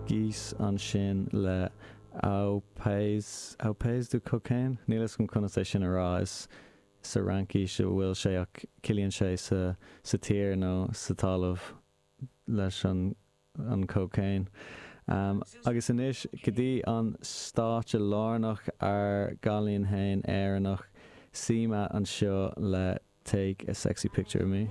Geese ansin le Au Pays, Au Pays du Cocaine? Níl fhios agam conas é sin a rá, is sa Fhraincis a bhfuil sé ach ciallaíonn sé sa sa tír nó sa talamh leis an an cocaine. Agus anois go dtí an stáitse lárnach, ár gcailín fhéin Éireannach, Simah anseo le Take a Sexy Picture of Me.